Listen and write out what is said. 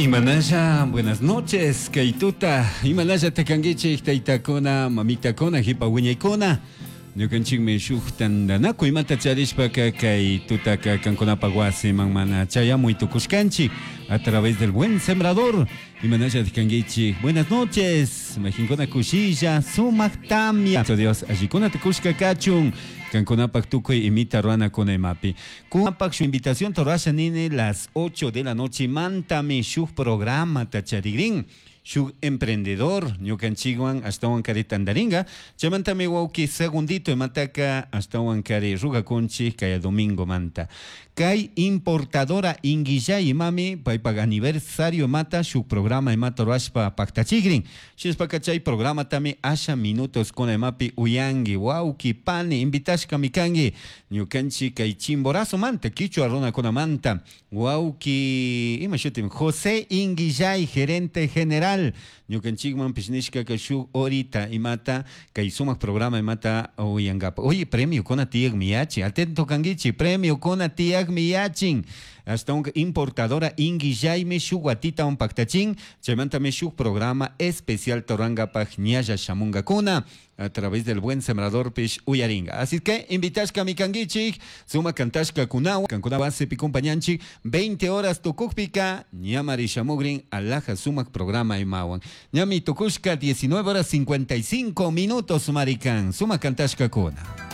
Imanalla, buenas noches, kay tuta. Imanalla takankichik taytakuna, mamitakuna, hipa wiñaykuna. Ñukanchikmi shuk tantanakuy imata charishpaka kay tutaka kankunapak wasiman mana chayamuy tukushkanchik a través del Buen Sembrador. Imanalla kankichik. Buenas noches. Majinkuna kushilla, sumak tamia. Dios allikuna tukushka kachun. Kankunapak tukuy imita ruranakuna imapi. Kunapak shu invitación rurasha nini las 8 de la noche mantami shuk programa tacharigrin. Shuk emprendedor ñukanchikwan ashtawan kari tandaringa. Chaymantami wawki segundito imataka ashtawan kari rugakunchik kay domingo manta. Kay importadora Inguillay imami paypak aniversario imata shuk programa imata rurashpa paktachigrin. Shinashpaka chay programatami asha minutos kuna imapi uyanki wawki pani invitashkami kanki ñukanchik kay Chimborazo manta kichwa runakunamanta wawki ima shutim José Inguillay gerente general ñukanchikmanpish nishkaka shuk horita imata kay sumak programa imata uyankapa. Oye, premio kuna tiyakmi yachin atento kankichik premio kuna tiyakmi yachin ashtawanka importadora Inguillaymi shuk watitawan paktachin chaymantami shuk programa especial rurankapak ñalla shamunkakuna a través del Buen Sembrador pish uyaringa. Así que invitashkami kankichik sumak kantashka kunawan kankuna wasipi compañanchik 20 horas tukukpika ñamari shamugrin alhaja sumak programa imawan. Ñami tukushka 19 horas 55 minutos marikan sumak kantashka kuna.